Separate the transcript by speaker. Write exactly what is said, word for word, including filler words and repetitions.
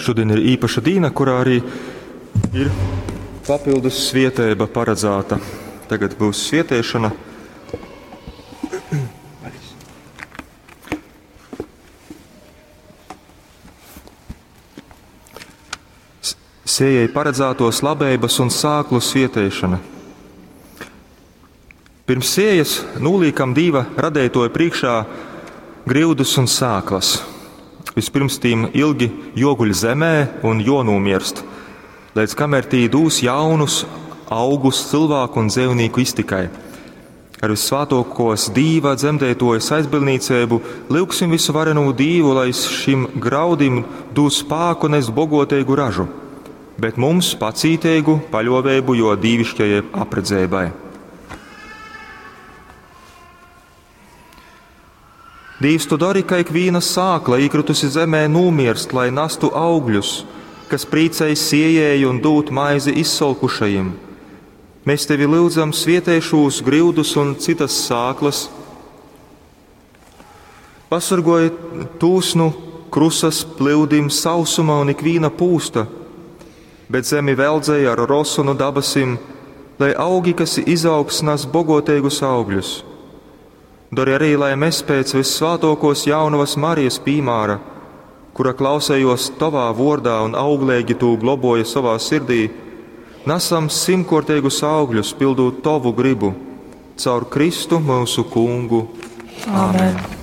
Speaker 1: Šodien ir īpaša dīna, kurā arī ir papildus svieteiba paredzēta. Tagad būs svieteišana. Sējai paredzētos labeibas un sāklu svieteišana. Pirms sējas noliekam Dīva radētoja priekšā griudus un sāklas. Vispirms tīm ilgi joguļ zemē un jonūmirst, līdz kamēr tī dūs jaunus augus cilvēku un dzīvnieku iztikai. Ar vissvētākos Dīva dzemdētojas aizbildniecību lūgsim visu varenū Dīvu, lai šim graudim dūs spāku nest bogotīgu ražu, bet mums pacītīgu paļovēbu, jo dīvišķajai apredzēbai. Dīvs, tu dari, ka ikviena sākla īkritusi zemē nomirst, lai nastu augļus, kas prīcēj siejēju un dūt maizi izsolkušajiem. Mēs tevi lūdzam svietēšūs grildus un citas sāklas. Pasargoj tūs nu krusas plūdim, sausuma un ikvīna pūsta, bet zemi veldzēja ar rosu no dabasim, lai augi, kas izaugs, nes bogotīgus augļus. Dari arī, lai mēs pēc vissvētākos jaunavas Marijas pīmāra, kura klausējos tavā vordā un auglīgi tū globoja savā sirdī, nesam simtkortīgus augļus, pildot tavu gribu, caur Kristu mūsu kungu.
Speaker 2: Āmen.